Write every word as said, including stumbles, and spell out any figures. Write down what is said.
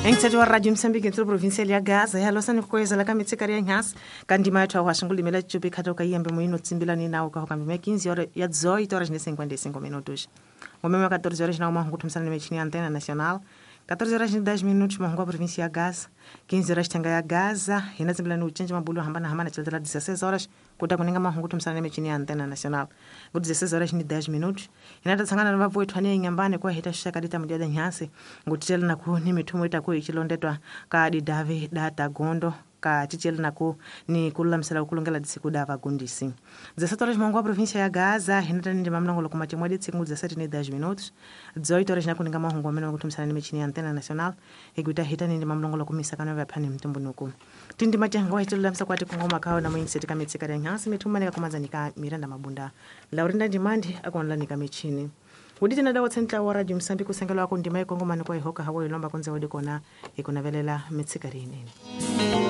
Engithetho wa Radio Mozambique ntlo provincial ya Gaza ya losa ni kukweza la kamitsikari ya nyasi kandima yathu wa shingulime chupi khatoka iyembe muino tsimbila ni nawo ka kambi me quinze horas ya dezoito horas e cinquenta e cinco minutos. Ngomema quatorze horas na uma nguthumisana mechini Antena Nacional. quatorze horas e dez minutos mahungu província ya Gaza, quinze horas tanga ya Gaza, hina tsimbila ni uchenje mabulu hambana hambana chilitela dezesseis horas kuta kuninga mahungu thumisana mechini ya Antena Nacional. Ngo dezesseis horas e dez minutos hina tatsangana na vavu ethu ane nyambane kwa hita shaka dita mudia nyasi ngutitela na ku ni mithumo ita ku ichilondetwa ka didavi data gondo ka chichela nako ni kululamisela kulongela disiku da vagundisi. dezessete horas mangu a província ya Gaza hinata ndi mamlongo kuma chimwe ditsiku dezessete e dez minutos. dezoito horas nakuninga mahungu amene kutumisana ni michini ya Antena Nacional iguita hita ndi mamlongo kumisa kana vyaphani mtumbunuku. Tindi machango hitululamisa kwati kungoma kawo na mwingiseti kamitsika ya nyasi mithumane kakumanzanika Miranda Mabunda. Laurinda Ndimandi akonlanika michini. Uditi na dawa tsentla wa Radio Mozambique kusengela wako ndima ikongomani kwa ihoka hawo ilomba konze wodi kona ikunavelela mitsikari inene.